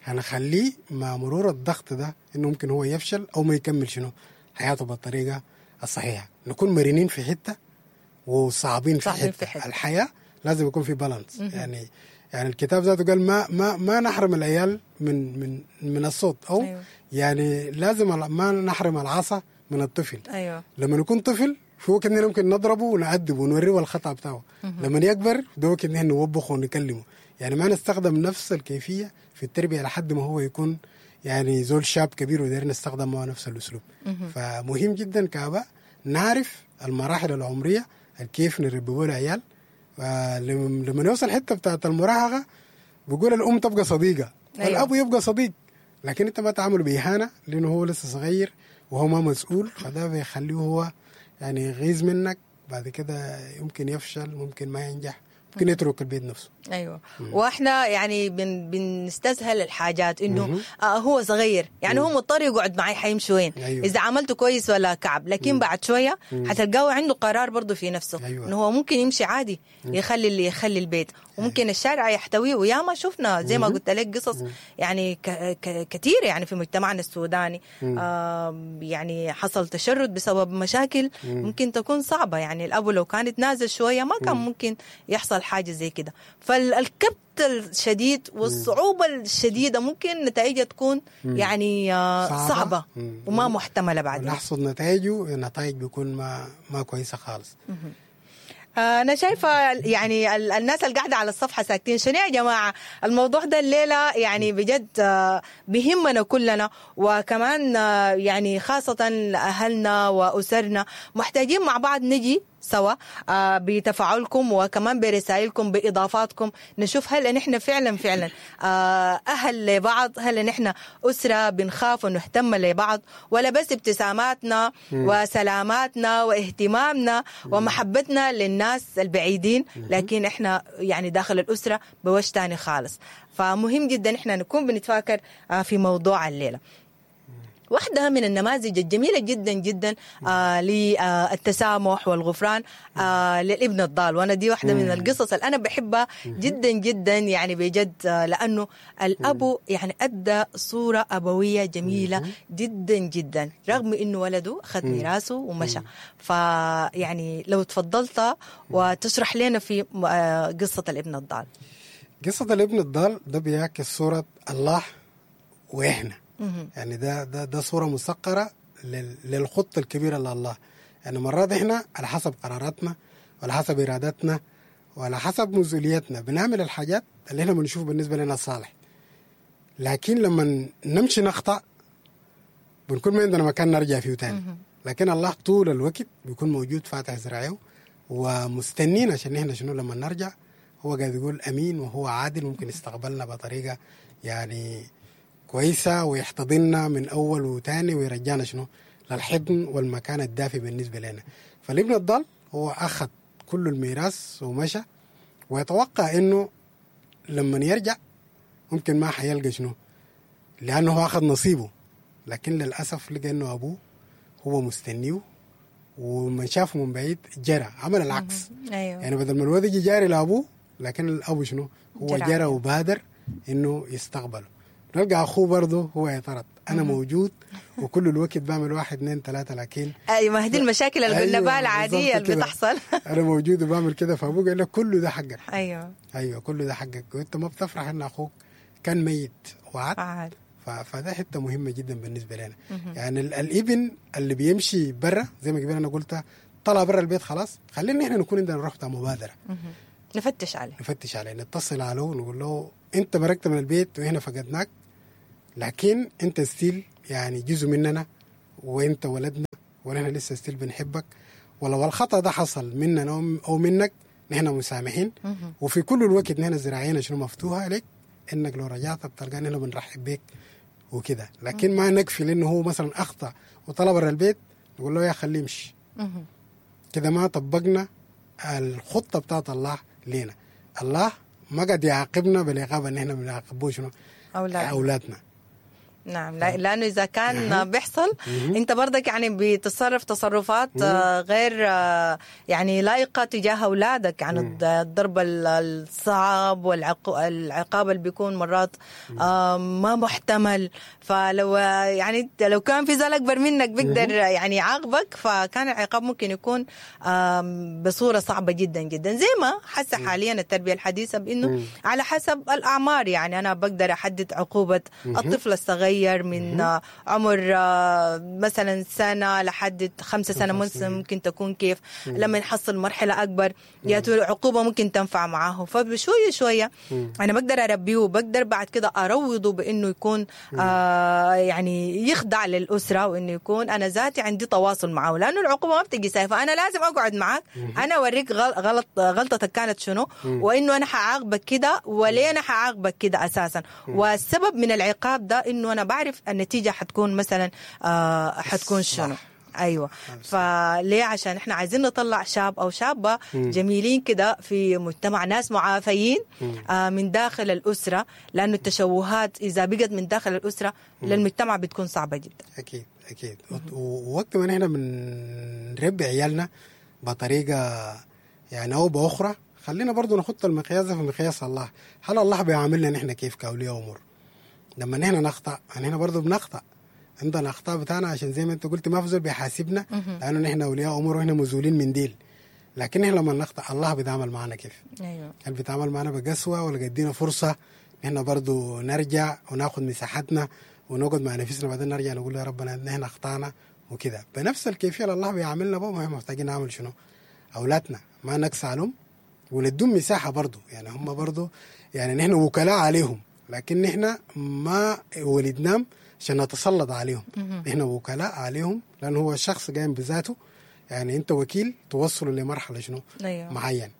A: هنخليه مع مرور الضغط ده إنه ممكن هو يفشل أو ما يكمل شنو حياته بالطريقة الصحيحة. نكون مرنين في حتة وصعبين في حتة. في حتة الحياة لازم يكون في بالانس. يعني يعني الكتاب ذاته قال ما ما ما نحرم العيال من من من الصوت او أيوه. يعني لازم ما نحرم العصا من الطفل.
B: أيوه.
A: لما يكون طفل في وقت اننا ممكن نضربه ونأدبه ونوريه الخطأ بتاعه. لما يكبر ده وقت اننا نوبخه ونكلمه. يعني ما نستخدم نفس الكيفية في التربية لحد ما هو يكون يعني زول شاب كبير وداير نستخدم معه نفس الأسلوب. فمهم جدا كآباء نعرف المراحل العمرية كيف نربيه العيال. لما يوصل حتة بتاعت المراهقة بقول الأم تبقى صديقة. أيوة. والأب يبقى صديق، لكن أنت ما تعامله بإهانة لأنه هو لسه صغير وهو ما مسؤول، فده بيخليه هو يعني يغيظ منك، بعد كده يمكن يفشل، ممكن ما ينجح، ممكن يترك البيت نفسه.
B: ايوه. مم. واحنا يعني بن بنستسهل الحاجات انه آه هو صغير يعني مم. هو مضطر يقعد معي، حيمشي وين؟ أيوة. اذا عملته كويس ولا كعب، لكن مم. بعد شوية حتلقاه عنده قرار برضه في نفسه. أيوة. انه هو ممكن يمشي عادي، مم. يخلي اللي يخلي البيت، وممكن أيوة. الشارع يحتويه. وياما شفنا زي ما قلت لك قصص مم. يعني ك ك كثير يعني في مجتمعنا السوداني آه يعني حصل تشرد بسبب مشاكل مم. ممكن تكون صعبة. يعني الاب لو كانت نازل شوية ما كان مم. ممكن يحصل حاجة زي كده. فالكبت الشديد والصعوبة الشديدة ممكن نتائجها تكون يعني صعبة, صعبة وما محتملة بعدين.
A: نحصد نتائجه، النتائج بيكون ما ما كويسة خالص.
B: أنا شايفة يعني الناس اللي قاعدة على الصفحة ساكتين، شنو يا جماعة الموضوع ده الليلة؟ يعني بجد بهمنا كلنا، وكمان يعني خاصة أهلنا وأسرنا محتاجين مع بعض نجي سوا بتفاعلكم وكمان برسائلكم بإضافاتكم، نشوف هل نحن فعلا فعلا أهل لبعض، هل نحن أسرة بنخاف ونهتم لبعض، ولا بس ابتساماتنا وسلاماتنا واهتمامنا ومحبتنا للناس البعيدين، لكن احنا يعني داخل الأسرة بوش تاني خالص. فمهم جدا احنا نكون بنتفاكر في موضوع الليلة. واحدة من النماذج الجميلة جدا جدا آه للتسامح والغفران آه للابن الضال، وأنا دي واحدة من القصص اللي أنا بحبها جدا جدا يعني بجد، آه لأنه الأب يعني أدى صورة أبوية جميلة جدا جدا، رغم أنه ولده أخذ ميراثه ومشى. فيعني لو تفضلت وتشرح لنا في آه قصة الابن الضال.
A: قصة الابن الضال ده بيعكس صورة الله وإحنا، يعني ده ده ده صورة مسقرة للخطة الكبيرة لله. يعني مرات احنا على حسب قراراتنا وعلى حسب إرادتنا وعلى حسب مسؤوليتنا بنعمل الحاجات اللي احنا بنشوف بالنسبة لنا صالح، لكن لما نمشي نخطأ بنكون ما عندنا مكان نرجع فيه تاني. لكن الله طول الوقت بيكون موجود فاتح ذراعه ومستنين عشان احنا شنو لما نرجع. هو قاعد يقول أمين وهو عادل، ممكن يستقبلنا بطريقة يعني كويسة ويحتضننا من أول وتاني ويرجعنا شنو للحضن والمكان الدافي بالنسبة لنا. فالابن الضال هو أخذ كل الميراث ومشى، ويتوقع إنه لما يرجع ممكن ما حيلقى شنو لأنه هو أخذ نصيبه، لكن للأسف لقى إنه أبوه هو مستنيه ومن شافه من بعيد جرى، عمل العكس.
B: أيوة.
A: يعني بدل ما الولد يجي جاري لابوه، لكن الابو شنو هو
B: جرى
A: جرى,
B: عليه.
A: وبادر انه يستقبله. نلقى اخوه برضه هو يعترض، انا موجود وكل الوقت بعمل واحد اثنين ثلاثة، لكن
B: ايوه ما هي دي المشاكل اللي قلنا
A: أيوة،
B: بها العادية
A: بالظبط
B: اللي
A: كده.
B: بتحصل.
A: انا موجود وبعمل كده، فابوه قال له كله ده حقك.
B: ايوه
A: ايوه كله ده حقك، وانت ما بتفرح ان اخوك كان ميت وعاد.
B: عاد.
A: ف- فده حتة مهمة جدا بالنسبة لنا. يعني ال- الابن اللي بيمشي برا زي ما قبل انا قلت طلع برا البيت خلاص، خلينا احنا نكون عندنا روح بتاع مبادرة،
B: نفتش عليه،
A: نفتش عليه، نتصل عليه ونقول له انت مرقت من البيت واحنا فقدناك، لكن انت still يعني جزء مننا وانت ولدنا ونحن لسه still بنحبك، ولو الخطا ده حصل مننا او منك نحن مسامحين، وفي كل الوقت نحن ذراعينا شنو مفتوحة لك، انك لو رجعت بتلقى نحن بنرحب بك وكده. لكن ما نكفي لانه هو مثلا اخطا وطلع برا البيت نقول له يا خليه يمشي كده، ما طبقنا الخطة بتاعت الله لينا. الله ما قد يعاقبنا بالعقاب ان احنا بنعاقبه شنو؟
B: أولادنا.
A: اولادنا.
B: نعم، لا- لانه اذا كان بيحصل انت برضك يعني بتتصرف تصرفات آه، غير آه، يعني لائقة تجاه اولادك، يعني الض- الضرب ال- الصعب والعقاب اللي بيكون مرات آه، ما محتمل. فلو آه، يعني أنت لو كان في زول اكبر منك بيقدر يعني يعاقبك، فكان العقاب ممكن يكون آم، بصورة صعبة جدا جدا، زي ما حاسه حاليا التربية الحديثة بانه على حسب الاعمار، يعني انا بقدر احدد عقوبه الطفل الصغير من آه، عمر آه، مثلا سنة لحد خمسة سنة
A: خمسة.
B: ممكن تكون كيف، لما يحصل مرحلة اكبر يا ترى عقوبه ممكن تنفع معاه. فبشويه شوية انا بقدر اربيه وبقدر بعد كده اروضه بانه يكون آه يعني يخضع للاسرة، وانه يكون انا ذاتي عندي تواصل معه، لانه العقوبة ما بتجي ساي، فانا لازم اقعد معاك انا اوريك غل- غلط غلطتك كانت شنو، وانه انا حعاقبك كده وليه انا حعاقبك كده اساسا، والسبب من العقاب ده انه انا بعرف النتيجة حتكون مثلا آه حتكون شنو.
A: صح.
B: ايوه، فليه؟ عشان احنا عايزين نطلع شاب او شابه جميلين كده في مجتمع، ناس معافيين آه من داخل الاسرة، لانه التشوهات اذا بقت من داخل الاسرة للمجتمع بتكون صعبة جدا.
A: اكيد اكيد. ووقت ما نحن بنربي عيالنا بطريقة يعني او باخرى، خلينا برضو نحط المقياس ده في مقياس الله. هل الله بيعاملنا نحن كيف كاولياء امور؟ لما نحن نخطا، نحن برضو بنخطا، عندنا اخطاء بتاعنا، عشان زي ما انت قلت ما في زول بيحاسبنا لانه نحن اولياء امور واحنا مزولين من ديل. لكن نحن لما نخطا الله بيتعامل معنا كيف؟
B: ايوه
A: هل بيتعامل معنا بقسوه ولا قدينا فرصة نحن برضو نرجع وناخد مساحتنا ونقعد مع نفسنا، بعدين نرجع نقول يا ربنا نحن اخطانا وكده. بنفس الكيفية اللي الله بيعاملنا بها، ما احنا محتاجين نعمل شنو؟ اولادنا ما نقسى عليهم وندوم مساحة برضو، يعني هم برضو يعني نحن وكلاء عليهم، لكن نحن ما ولدناهم عشان نتسلط عليهم، نحن وكلاء عليهم لانه هو الشخص قايم بذاته، يعني انت وكيل توصله لمرحلة شنو؟
B: ايوه
A: معين.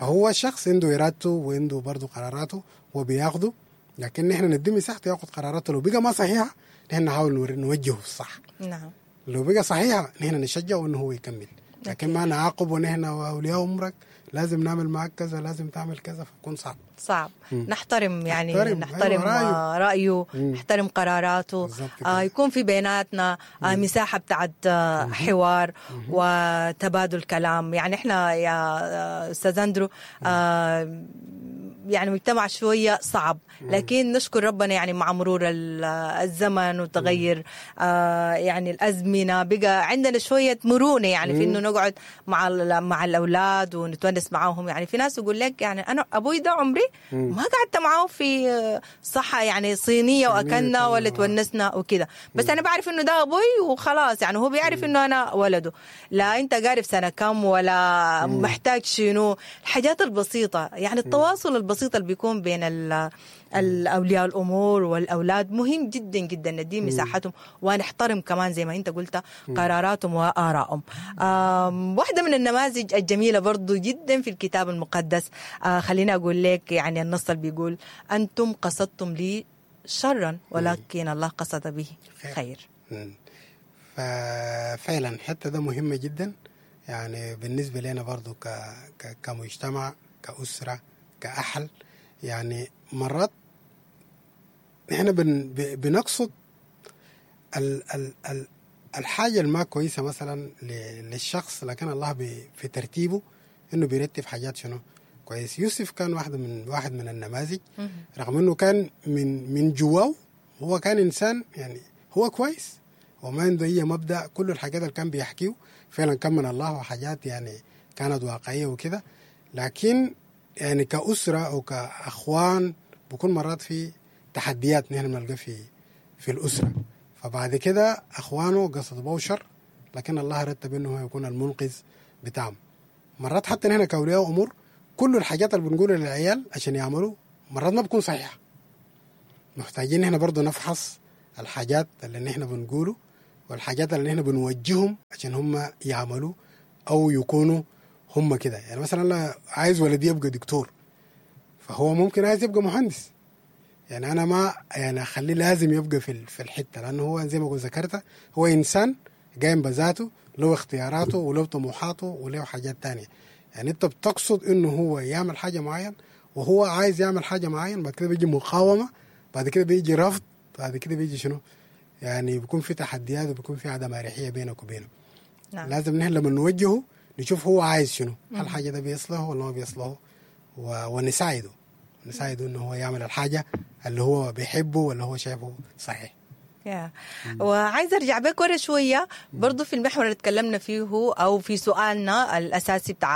A: فهو شخص عنده ارادته وعنده برضه قراراته وبياخده، لكن نحن نديه مساحته ياخد قراراته. لو بقى ما صحيحه نحن نحاول نور- نوجهه الصح،
B: نعم
A: لو بقى صحيحه نحن نشجعه انه هو يكمل، لكن ما نعاقبه نحن واولياء امرك لازم نعمل معك كذا لازم تعمل كذا، فبكون صعب.
B: صعب. نحترم يعني
A: نحترم،
B: نحترم,
A: أيوة، رأيه.
B: آه، رأيه،
A: مم.
B: نحترم قراراته،
A: بالظبط كده.
B: آه يكون في بيناتنا آه مساحة بتاعت آه حوار وتبادل كلام. يعني احنا يا آه، أستاذ أندرو آه يعني مجتمع شوية صعب، لكن نشكر ربنا يعني مع مرور ال- الزمن وتغير آه يعني الأزمنة بقى عندنا شوية مرونة، يعني في إنه نقعد مع ال- مع الأولاد ونتونس معاهم. يعني في ناس يقول لك يعني أنا أبوي ده عمري ما قعدت معاه في صحة يعني صينية وأكلنا ولا تونسنا وكده، بس أنا بعرف إنه ده أبوي وخلاص، يعني هو بيعرف إنه أنا ولده، لا أنت قارف سنة كم ولا محتاج شنو، الحاجات البسيطة يعني التواصل البسيط اللي بيكون بين ال- الأولياء الأمور والأولاد مهم جدا جدا، ندي مساحتهم ونحترم كمان زي ما أنت قلت قراراتهم وآرائهم. آم، واحدة من النماذج الجميلة برضو جدا في الكتاب المقدس، آه، خليني أقول لك يعني النص اللي بيقول أنتم قصدتم لي شرا ولكن الله قصد به
A: خير.
B: خير.
A: مم. ففعلا الحتة ده مهمة جدا، يعني بالنسبة لنا برضو ك... ك... كمجتمع، كاسره، كأهل. يعني مرات احنا بن... ب... بنقصد ال... ال... ال... الحاجة الما كويسة مثلا للشخص، لكن الله في ترتيبه انه بيرتب حاجات شنو كويس. يوسف كان واحد من واحد من النماذج، رغم انه كان من من جواه هو كان انسان يعني هو كويس وما عنده اي مبدا، كل الحاجات اللي كان بيحكيه فعلا كان من الله وحاجات يعني كانت واقعية وكده، لكن يعني كاسره او كاخوان بكون مرات في تحديات نحن بنلقى في في الاسرة. فبعد كده اخوانه قصدوا به شر، لكن الله رتب انه هو يكون المنقذ بتاعهم. مرات حتى نحن كاولياء امور كل الحاجات اللي بنقولها للعيال عشان يعملوا مرات ما بتكون صحيحه. محتاجين نحن برضو نفحص الحاجات اللي نحن بنقوله والحاجات اللي نحن بنوجههم عشان هم يعملوا او يكونوا هم كده. يعني مثلا انا عايز ولدي يبقى دكتور، فهو ممكن عايز يبقى مهندس. يعني انا ما يعني اخليه لازم يبقى في في الحتة، لانه هو زي ما كنت ذكرت هو انسان قايم بذاته، له اختياراته وله طموحاته وله حاجات تانية. يعني انت بتقصد انه هو يعمل حاجة معين وهو عايز يعمل حاجة معين، بعد كده بيجي مقاومة، بعد كده بيجي رفض، بعد كده بيجي شنو يعني بيكون في تحديات وبيكون في عدم اريحية بينك وبينه. نعم. لازم نحن لما نوجهه نشوف هو عايز شنو، هل الحاجة ده بيصله ولا ما بيصله، و... ونساعده نساعده انه هو يعمل الحاجة اللي هو بيحبه ولا هو شايفه صحيح.
B: yeah. وعايز ارجع بك ورا شوية برضو في المحور اللي تكلمنا فيه او في سؤالنا الاساسي بتاع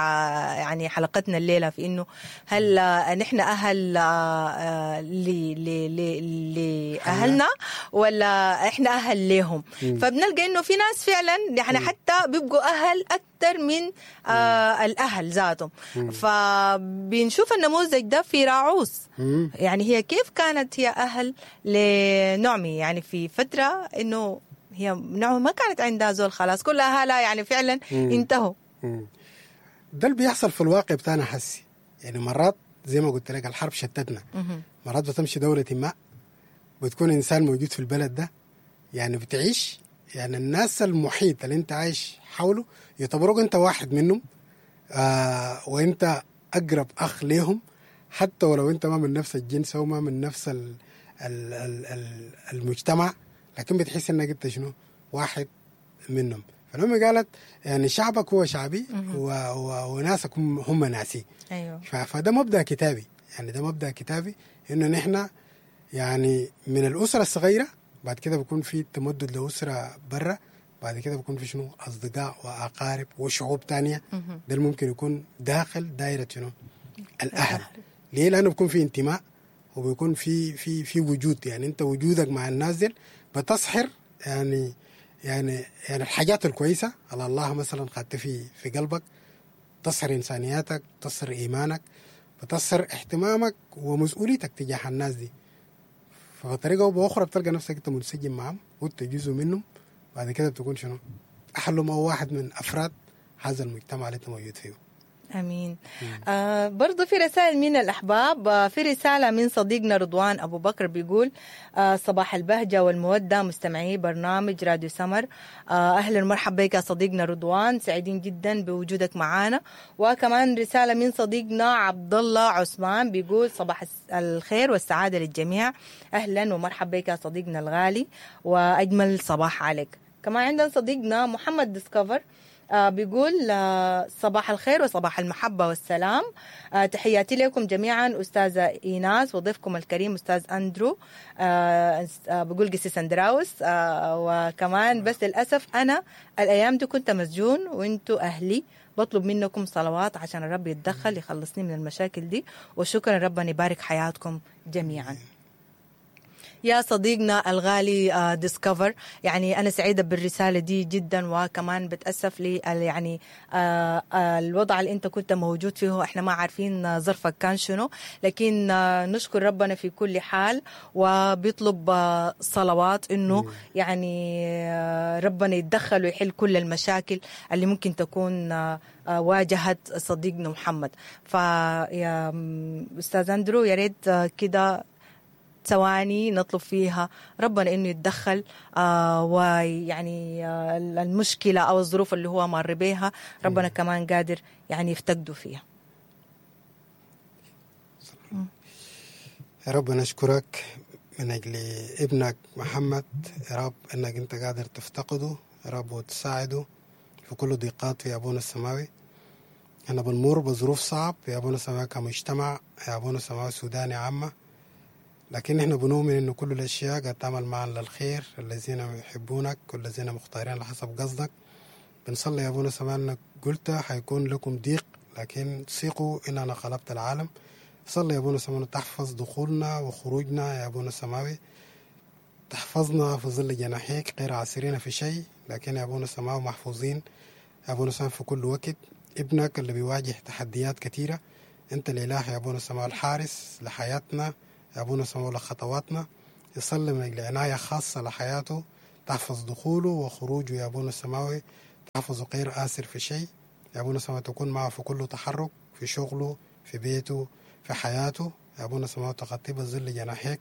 B: يعني حلقتنا الليلة، في انه هل نحن اهل لاهلنا ولا احنا اهل ليهم؟ فبنلقى انه في ناس فعلا يعني حتى بيبقوا اهل اكثر من آه الاهل ذاتهم. فبنشوف النموذج ده في راعوس. يعني هي كيف كانت هي اهل لنعمي، يعني في فترة إنه هي نعمة ما كانت عندها زول، خلاص كل أهلها يعني فعلا انتهوا.
A: ده اللي بيحصل في الواقع بتاعنا حسي. يعني مرات زي ما قلت لك الحرب شتتنا. مرات بتمشي دولة ما بتكون إنسان موجود في البلد ده، يعني بتعيش يعني الناس المحيط اللي انت عايش حوله يعتبروك انت واحد منهم، آه وانت أقرب أخ ليهم، حتى ولو انت ما من نفس الجنس أو ما من نفس ال المجتمع، لكن بتحس انك انت شنو واحد منهم. فالأم قالت يعني شعبك هو شعبي و... و... وناسك هم, هم ناسي.
B: أيوة.
A: ف... فده مبدأ كتابي، يعني ده مبدأ كتابي انه نحن يعني من الأسرة الصغيرة، بعد كده بيكون في تمدد لأسرة برا، بعد كده بيكون في شنو أصدقاء وأقارب وشعوب تانية. ده ممكن يكون داخل دائرة شنو الأهل. ليه؟ لأنه بيكون في انتماء وبيكون في في في وجود، يعني انت وجودك مع الناس دي بتصحر يعني يعني يعني الحاجات الكويسة على الله مثلا خدت في في قلبك، تصحر انسانياتك، تصحر ايمانك، بتصحر اهتمامك ومسؤوليتك تجاه الناس دي. فبطريقه او باخرى بتلقى نفسك انت منسجم معهم وانت جزء منهم. بعد كده بتكون شنو احلم او واحد من افراد هذا المجتمع اللي انت موجود فيه.
B: أمين. آه برضو في رسائل من الأحباب. آه في رسالة من صديقنا رضوان أبو بكر بيقول آه صباح البهجة والمودة مستمعي برنامج راديو سمر. آه أهلا ومرحبا بك يا صديقنا رضوان، سعيدين جدا بوجودك معنا. وكمان رسالة من صديقنا عبد الله عثمان بيقول صباح الخير والسعادة للجميع، أهلا ومرحبا بك يا صديقنا الغالي وأجمل صباح عليك. كمان عندنا صديقنا محمد ديسكفر آه بيقول آه صباح الخير وصباح المحبة والسلام، آه تحياتي لكم جميعا أستاذة إيناس وضيفكم الكريم أستاذ أندرو، آه آه بيقول قسيس أندراوس، آه وكمان بس للأسف أنا الأيام دي كنت مسجون وانتو أهلي، بطلب منكم صلوات عشان الرب يتدخل يخلصني من المشاكل دي، وشكرا ربنا يبارك حياتكم جميعا. يا صديقنا الغالي ديسكفر، يعني أنا سعيدة بالرسالة دي جدا، وكمان بتأسف لي يعني الوضع اللي أنت كنت موجود فيه، إحنا ما عارفين ظرفك كان شنو، لكن نشكر ربنا في كل حال، وبيطلب صلوات إنه يعني ربنا يتدخل ويحل كل المشاكل اللي ممكن تكون واجهت صديقنا محمد. فيا أستاذ أندرو يا ريت كده ثواني نطلب فيها ربنا إنه يتدخل آه ويعني آه المشكلة أو الظروف اللي هو مر بيها ربنا م. كمان قادر يعني يفتقده فيها.
A: يا رب نشكرك من أجل ابنك محمد، يا رب إنك أنت قادر تفتقده، رب وتساعده في كل ضيقاته يا أبونا السماوي. احنا بنمر بظروف صعب يا أبونا السماوي كمجتمع يا أبونا السماوي سوداني عامة، لكن احنا بنؤمن إنه كل الأشياء قد تعمل معا للخير الذين يحبونك والذين مختارين على حسب قصدك. بنصلي يا أبونا السماوي إنك قلت حيكون لكم ضيق، لكن ثقوا إن أنا غلبت العالم. صلي يا أبونا السماوي تحفظ دخولنا وخروجنا يا أبونا السماوي، تحفظنا في ظل جناحيك غير عاسرين في شيء، لكن يا أبونا السماوي محفوظين يا أبونا السماوي في كل وقت. ابنك اللي بيواجه تحديات كثيرة، أنت الإله يا أبونا السماوي الحارس لحياتنا يا أبونا السماوي لخطواتنا. يصلي من أجل عناية خاصة لحياته، تحفظ دخوله وخروجه يا أبونا السماوي، تحفظه غير آسر في شيء يا أبونا السماوي، تكون معه في كل تحرك، في شغله، في بيته، في حياته يا أبونا السماوي، تغطيه بظل جناحيك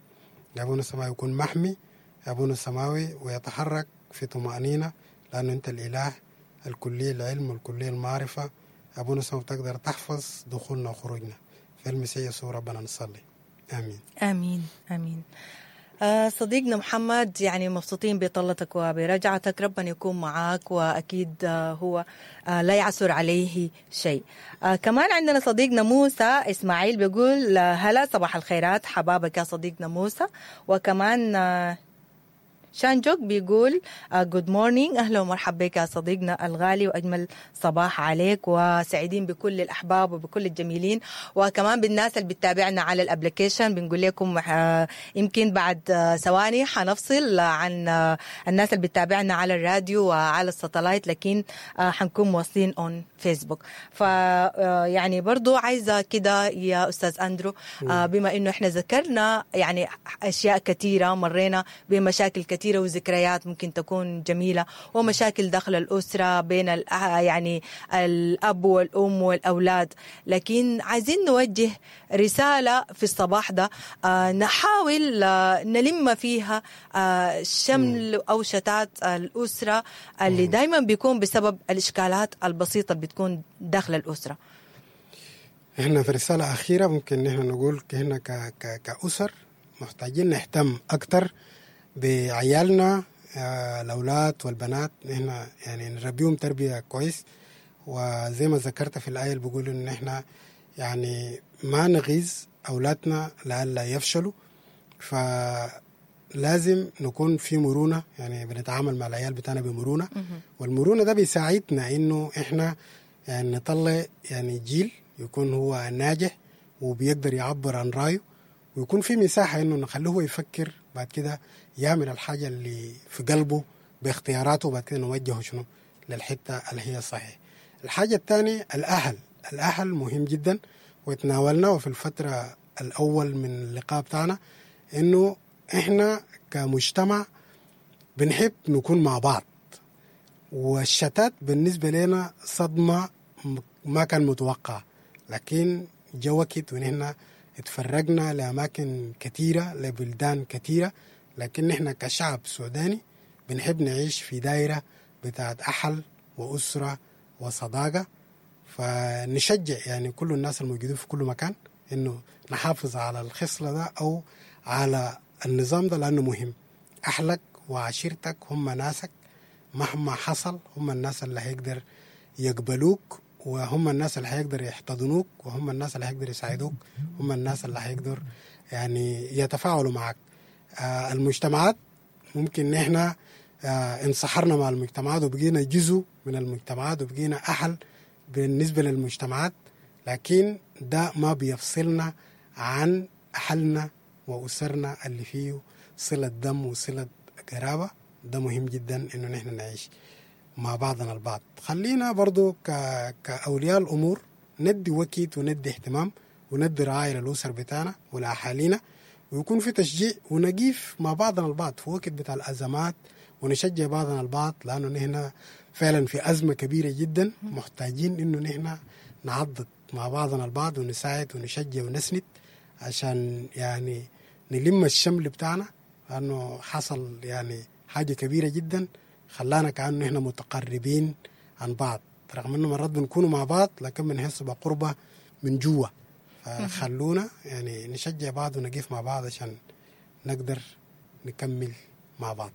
A: يا أبونا السماوي، يكون محمي يا أبونا السماوي ويتحرك في طمأنينة، لأنه أنت الإله الكلي العلم والكلي المعرفة يا أبونا السماوي، تقدر تحفظ دخولنا وخروجنا. في المسيح يسوع ربنا نصلي، آمين.
B: آمين آمين. آه صديقنا محمد، يعني مبسوطين بطلتك وبرجعتك، ربنا يكون معاك، وأكيد آه هو آه لا يعثر عليه شيء. آه كمان عندنا صديقنا موسى إسماعيل بيقول هلا صباح الخيرات حبابك يا صديقنا موسى. وكمان آه شانجوك بيقول good morning، أهلا ومرحبا بك يا صديقنا الغالي، وأجمل صباح عليك، وسعيدين بكل الأحباب وبكل الجميلين، وكمان بالناس اللي بتتابعنا على ال application. بنقول لكم يمكن بعد ثواني حنفصل عن الناس اللي بتتابعنا على الراديو وعلى ال satellite، لكن حنكون مواصلين on Facebook. ف يعني برضو عايزة كده يا أستاذ أندرو، بما إنه إحنا ذكرنا يعني أشياء كثيرة، مرينا بمشاكل كثيرة كثيرة وذكريات ممكن تكون جميلة، ومشاكل داخل الأسرة بين يعني الأب والأم والأولاد، لكن عايزين نوجه رسالة في الصباح ده نحاول نلم فيها شمل أو شتات الأسرة اللي دايما بيكون بسبب الإشكالات البسيطة اللي بتكون داخل الأسرة.
A: احنا في رسالة أخيرة ممكن نحن نقول هنا ك ك كأسر محتاجين نهتم أكتر بعيالنا الأولاد والبنات، نحن يعني نربيهم تربية كويس، وزي ما ذكرت في الآية اللي بيقولوا إن إحنا يعني ما نغيظ أولادنا لئلا يفشلوا، فلازم نكون في مرونة، يعني بنتعامل مع العيال بتاعنا بمرونة، والمرونة ده بيساعدنا إنه إحنا يعني نطلع يعني جيل يكون هو ناجح وبيقدر يعبر عن رأيه، ويكون في مساحة إنه نخليه هو يفكر بعد كده يعمل الحاجة اللي في قلبه باختياراته، وبعد كده نوجهه شنو للحتة اللي هي صحيح. الحاجة الثانية الأهل، الأهل مهم جدا، وتناولنا وفي الفترة الأول من اللقاء بتاعنا إنه إحنا كمجتمع بنحب نكون مع بعض، والشتات بالنسبة لنا صدمة ما كان متوقع، لكن جا وقت ونحن اتفرجنا لأماكن كثيرة لبلدان كثيرة، لكن نحن كشعب سوداني بنحب نعيش في دائرة بتاعت أهل وأسرة وصداقة، فنشجع يعني كل الناس الموجودين في كل مكان إنه نحافظ على الخصلة ده أو على النظام ده، لأنه مهم. أهلك وعشيرتك هم ناسك، مهما حصل هم الناس اللي هيقدر يقبلوك، وهم الناس اللي هيقدر يحتضنوك، وهم الناس اللي هيقدر يساعدوك، هم الناس اللي هيقدر يعني يتفاعلوا معك. آه المجتمعات ممكن نحن آه انصحرنا مع المجتمعات وبقينا جزء من المجتمعات وبقينا أهل بالنسبة للمجتمعات، لكن ده ما بيفصلنا عن أهلنا وأسرنا اللي فيه صلة دم وصلة قرابة. ده مهم جدا إنه نحن نعيش مع بعضنا البعض. خلينا برضو ك... كأولياء الأمور ندي وقت وندي اهتمام وندي رعاية للأسر بتاعنا ولأهالينا، ويكون في تشجيع ونقيف مع بعضنا البعض في وقت بتاع الأزمات ونشجع بعضنا البعض، لأنه نحن فعلا في أزمة كبيرة جدا محتاجين إنه نحن نعضد مع بعضنا البعض ونساعد ونشجع ونسند عشان يعني نلم الشمل بتاعنا، لأنه حصل يعني حاجة كبيرة جدا خلانا كأنه نحن متقربين عن بعض، رغم إنه مرات بنكونوا مع بعض لكن بنحس بقربة من جوا. فخلونا يعني نشجع بعض ونقف مع بعض عشان نقدر نكمل مع بعض.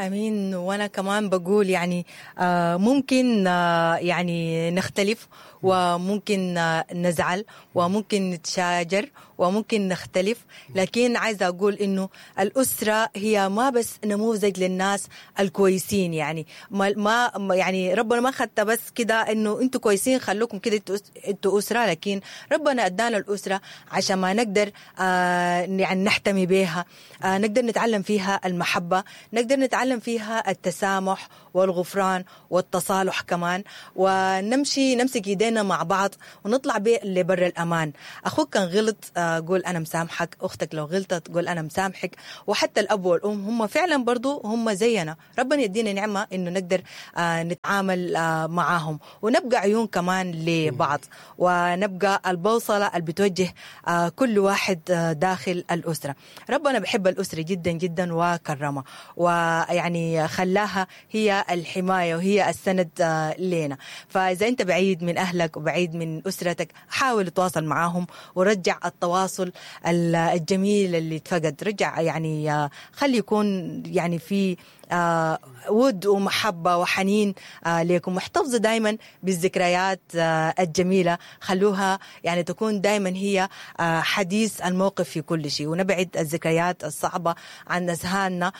B: امين. وانا كمان بقول يعني آه ممكن آه يعني نختلف، وممكن آه نزعل، وممكن نتشاجر، وممكن نختلف، لكن عايزه اقول انه الاسرة هي ما بس نموذج للناس الكويسين. يعني ما, ما يعني ربنا ما خدت بس كده انه انتوا كويسين خلوكم كده انتوا اسره، لكن ربنا ادانا الاسرة عشان ما نقدر آه يعني نحتمي بيها، آه نقدر نتعلم فيها المحبة، نقدر نتعلم فيها التسامح والغفران والتصالح كمان، ونمشي نمسك ايدينا مع بعض ونطلع لبر الامان. اخوك كان غلط آه قول انا مسامحك، اختك لو غلطت قول انا مسامحك. وحتى الاب والام هم فعلا برضو هم زينا، ربنا يدينا نعمه انه نقدر آه نتعامل آه معاهم، ونبقى عيون كمان لبعض، ونبقى البوصلة اللي بتوجه آه كل واحد آه داخل الاسرة. ربنا بحب الاسرة جدا جدا وكرمها، ويعني خلاها هي الحماية وهي السند آه لنا. فاذا انت بعيد من اهلك وبعيد من اسرتك حاول تتواصل معاهم ورجع التواصل الجميل اللي اتفقد، رجع يعني خلي يكون يعني في آه ود ومحبة وحنين آه ليكم. واحتفظوا دايما بالذكريات آه الجميلة، خلوها يعني تكون دايما هي آه حديث الموقف في كل شيء، ونبعد الذكريات الصعبة عن أذهاننا.